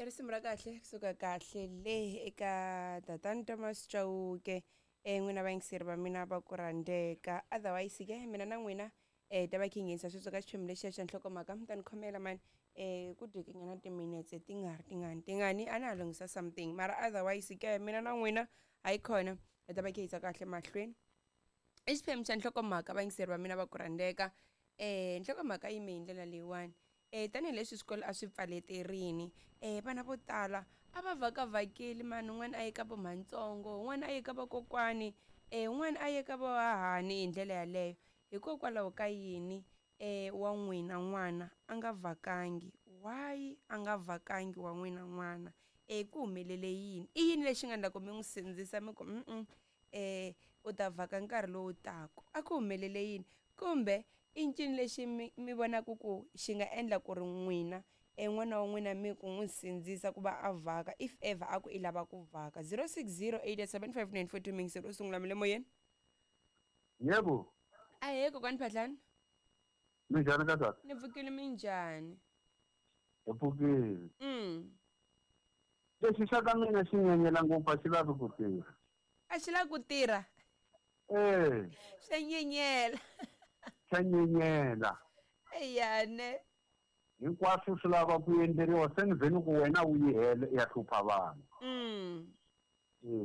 I risimu ra kahle kusuka kahle le eka tatani Thomas Chauke. N'wina vayingiseri va mina va ku rhandzeka. Otherwise ke mina na n'wina ta va khe nghenisa sweswo ka xiphemu lexiya xa nhlokomhaka mi ta ni khomela mani ku dyekenyana timinetse ti nga ri tingani tingani a na ha lunghisa something mara otherwise ke mina na n'wina hayikhona hi ta va khe yisa kahle mahlweni. I xiphemu xa nhlokomhaka vayingiseri va mina va ku rhandzeka. Nhlokomhaka yi yime hi ndlela leyiwani. Tanihileswi swikolo a swi pfaleterini vana vo tala a va vhakavhakeli mani un'wana a ye ka vo mhantsongo un'wana a ye ka vakokwani un'wana a ye ka vo hahani hi ndlela yaleyo. Hikokwalaho ka yini wa n'wina n'wana a nga vhakangi? Why a nga vhakangi wa n'wina n'wana? Ku humelele yini? I yini lexi nga endla ku mi n'wi sindzisa mi ku u ta vhaka nkarhi lowu taka? A ku humelele yini? Kumbe i ncini lexi mi mi vonaka ku xi nga endla ku ri n'wina n'wana wa n'wina mi ku n'wi sindzisa ku va a vhaka if ever a ku i lava ku vhaka? 06087594 miyingiseri u sungula mi le moyeni. Yebo. Ahee kokwani Phatlani. Minjhani ka tata? Ni pfukile minjhani? Hi pfukile. Lexi xa ka mina xi nyenyela ngopfu a xi lavi ku tirha. A xi lavi ku tirha? Eh. Xa nyenyela. Xa nyenyela. Eyane. Hinkwaswo swi lava ku endleriwa se ni vheni ku wena u yi hele ya hlupha vanhu.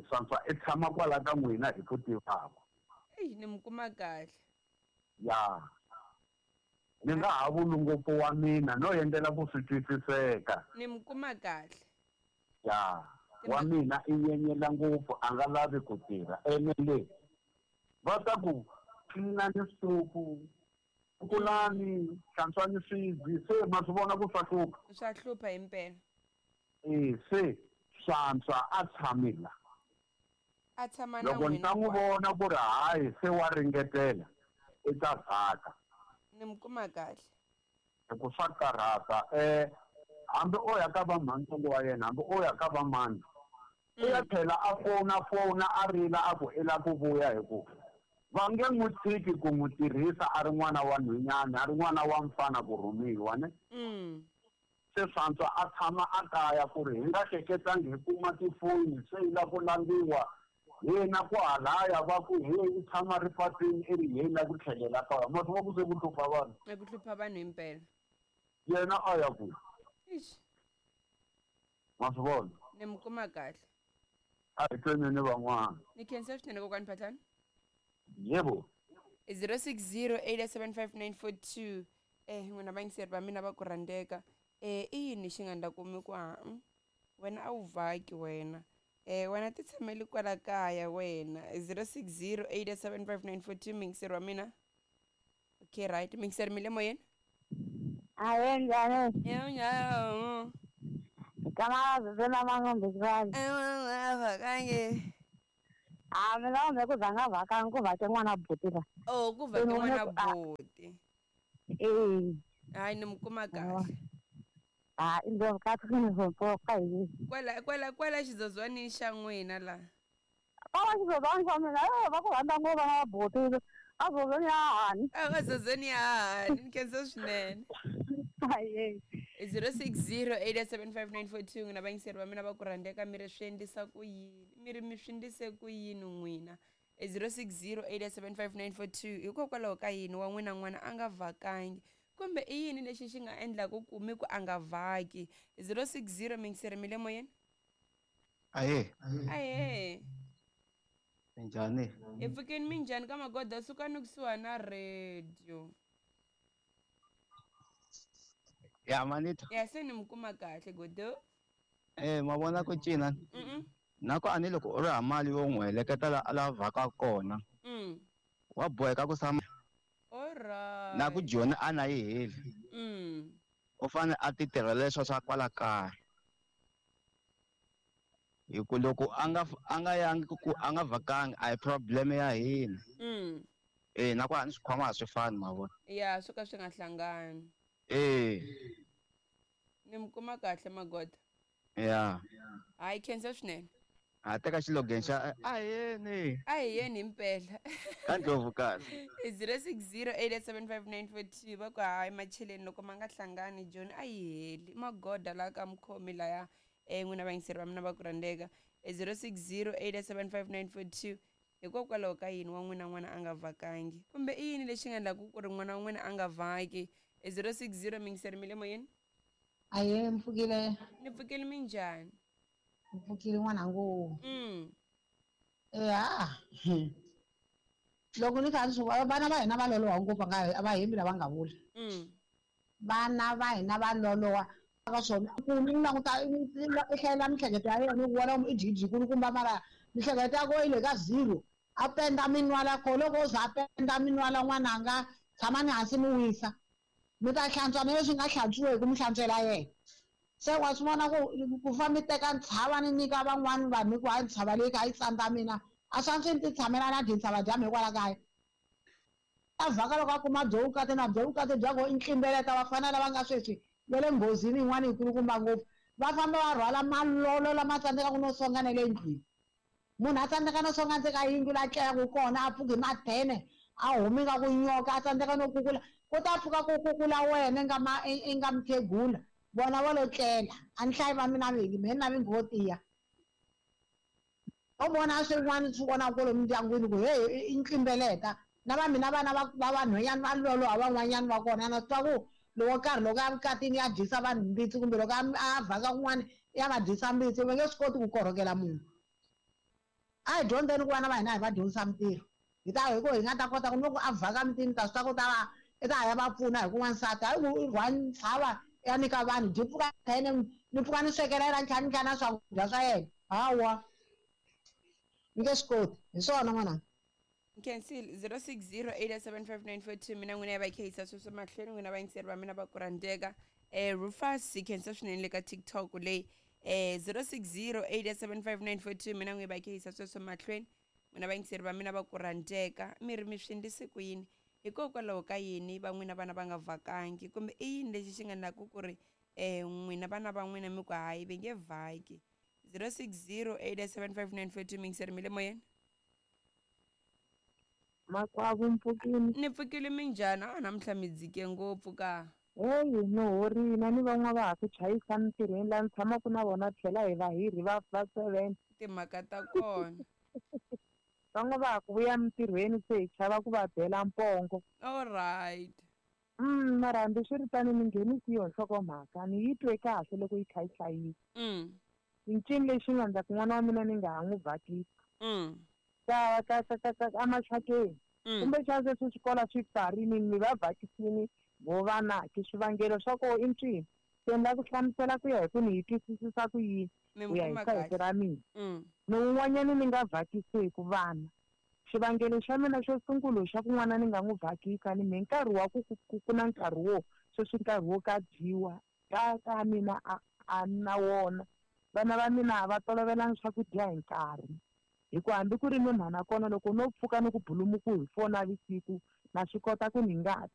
Swantswa i tshama kwala ka n'wina hi ku tivaka. Eyi ni mi kuma kahle. Ya. Ni nga ha vuli ngopfu wa mina no endlela ku swi twisiseka. Ni mi kuma kahle. Ya. Wa mina i nyenyela ngopfu a nga lavi ku tirha. Ene le va ta ku cleanani switofu, kulani, hlantswani swibye, se ma swi vona ku swa hlupha. Swa hlupha himpela. Se swantswa a tshame la. A tshama na Loko ni ta n'wi vona ku ri hayi se wa ringetela i ta vhaka. Ni mi kuma kahle. Hi ku swa karhata hambi o ya ka va mhantsongo wa yena hambi o ya ka va mani u ya tlhela a fona fona a rila a ku i la ku vuya hi ku va nge n'wi tshiki ku n'wi tirhisa a ri n'wana wa nhwenyana a ri n'wana wa mfana ku rhumiwa ne. Se swantswa a tshama a kaya ku ri hi nga hleketangi hi kuma tifoni se yi la ku landziwa hina ku halaya va ku he i tshama ripatwini i ri he la ku tlhelela kaya ma swi vona ku se ku hlupha vanhu. Ku hlupha vanhu himpela. Yena a ya kwihi? Ixi. Ma swi vona? Ni mi kuma kahle. A hi tweneni van'wana. Ni khensa swinene kokwani Phatlani. Yebo. 06087594 n'wina vayingiseri va mina va ku rhandzeka i yini xi nga endla ku mi ku ha wena a wu vhaki wena wena ti tshameli kwala kaya wena 06087594 muyingiseri wa mina. Okay right, muyingiseri mi le moyeni? Ahe njhani? Yebo. Kama vena mangombe kwani. Vhakange. A mina kumbe ku za nga vhakangi ku vhake n'wana buti la. Oh ku vhake n'wana buti. Eh. Hayi ni mi kuma kahle. Ha i ndzi ka ka hi. Kwala kwala kwala xizozwanini xa n'wina la. Kwala xizozwani xa mina va ku rhandza ngopfu vana va buti. A zozweni ya hahani. A zozweni ya hahani ni khensa swinene. Aye. 06087594 n'wina vayingiseri va mina va ku rhandzeka mi ri swi endlisa ku yini mi ri mi swi endlise ku yini n'wina 06087594 hikokwalaho ka yini wa n'wina n'wana a nga vhakangi kumbe i yini lexi xi nga endlaku ku mi ku a nga vhaki 060 miyingiseri mi le moyeni. Ahe. Ahe. Minjhani? Hi pfukeni minjhani ka magoda sukani kusuhani na radio. Ya manita. Ya se ni mi kuma kahle godo. Ma vona ku cina. Na ku ani loko u ri ha mali yo n'wi heleketa la a la vhaka kona. Wa boheka ku tshama. Alright. Na ku joni a na yi heli. U fanele a ti tirhela leswa swa kwala kaya. Hi ku loko a nga a nga yangi ku a nga vhakangi a hi problem ya hina. Na ku a ni swikhwama a swi fani ma vona. Ya swo ka swi nga hlangani. Ni mi kuma kahle magoda. Ya. Hayi khensa swinene. Ha teka xilogeni xa a yeni. A hi yeni himpela. Ka Ndlovu kahle. 06087594 va ku hayi macheleni loko ma nga hlangani John a yi heli magoda la ka mukhomi laya n'wina vayingiseri va mina va ku rhandzeka 06087594 hikokwalaho ka yini wa n'wina n'wana a nga vhakangi kumbe i yini lexi nga endlaku ku ri n'wana wa n'wina a nga vhaki 060 mingiseri mi le moyeni. Aye mpfukile. Ni pfukile minjhani? Mpfukile n'wanangu. Ya loko ni kha ni swi vana va hina va loloha ngopfu a va hembi lava nga vula. Vana va hina va loloha ka swona ku ni languta i hlayela mihleketo ya yena u vona i jiji kulukumba mara mihleketo ya ko yi le ka zero a penda minwala ko loko o za a penda minwala n'wananga tshamani hansi mi wisa mi ta hlantswa na leswi nga hlantswiweki mi hlantswela yena se wa swi vona ku fa mi teka ntshava ni nyika van'wani vanhu hi ku hayi ntshava leyi kha yi tsandza mina a swi antswi ni ti tshamela na tintshava dyambu hikwalaho kaya a vhaka loko a kuma byo vukati na byo vukati bya ko i ntlimbeleta vafana lava nga sweswi va le nghozini yin'wana yikulukumba ngopfu va famba va rhwala malolo lama tsandzekaka no songa na le ndlwini munhu a tsandzeka no songa ndzeni ka yindlu la tlelaka kona a pfuki hi mathene a humi nga ku nyoka a tsandzeka no kukula ku ta pfuka ku kukula wena nga ma i nga mukhegula vona va lo tlela a ni hlayi va mina vingi mehe na vingi vo tiya u vona swin'wana swi vonaka kwalomu ndyangwini ku hey i ntlimbeleta na va mina vana va vanhwanyana va loloha van'wanyana va kona na swi twa ku loko karhi loko a vukatini ya dyisa vanhu mbitsi kumbe loko a vhaka kun'wana ya va dyisa mbitsi va nge swi koti ku korhokela munhu a hi dyondzeni ku vana va hina hi va dyondzisa mintirho hi ta hi ku hi nga ta kota ku loko a vhaka mitini ta swi ta ku ta va i ta ya va pfuna hi ku n'wansati hayi ku i rhwala ntshava ya nyika vanhu dyi pfuka yena ni pfuka ni swekela yena ni tlhela ni tlhela na swakudya swa yena hawa ni nge swi koti hi swona n'wananga. Nkhensile 06087594 mina n'wina ya va khehisa sweswo mahlweni n'wina vayingiseri va mina va ku rhandzeka Rufus hi khensa swinene le ka TikTok leyi 06087594 mina n'wina va khehisa sweswo mahlweni n'wina vayingiseri va mina va ku rhandzeka mi ri mi swi endlise ku yini hikokwalaho ka yini va n'wina vana va nga vhakangi kumbe i yini lexi xi nga endlaku ku ri n'wina vana va n'wina mi ku hayi va nge vhaki 06087594 mingiseri mi le moyeni. Makwavo mpfukini. Ni pfukile minjhani a namuntlha mi dzike ngopfu ka. Heyi ni horile ni van'wana va ha ku chayisa mintirhweni laha ni tshamaka na vona tlhela hi vahirhi va 7. Timhaka ta kona. Van'wana va ha ku vuya mintirhweni se hi chava ku va bela mpongo. All right. Mara hambiswiritano ni nghenisi yo nhlokomhaka ni yi twe kahle loko yi kha yi hlayisa. Ncini lexi nga endla ku n'wana wa mina ni nga ha n'wi vhakisi. Ka ka ka ka emaxakeni. Kumbexana sweswi swikolo swi pfarini mi va vhakisini vo vana ke swivangelo swa ko i ncini se ni lava ku hlamusela ku ya hi ku ni yi twisisisa ku yini ku ya hi sayizi ra mina. Ni un'wanyana ni nga vhakiseki vana xivangelo xa mina xo sungula xa ku n'wana ni nga n'wi vhakisa ni me nkarhi wa ku ku na nkarhi wo sweswi nkarhi wo ka dyiwa ka mina a na wona vana va mina a va tolovelanga swakudya hi nkarhi hi ku hambi ku ri ni mhana kona loko no pfuka ni ku bulumuku hi 4 navusiku na swi kota ku ni nga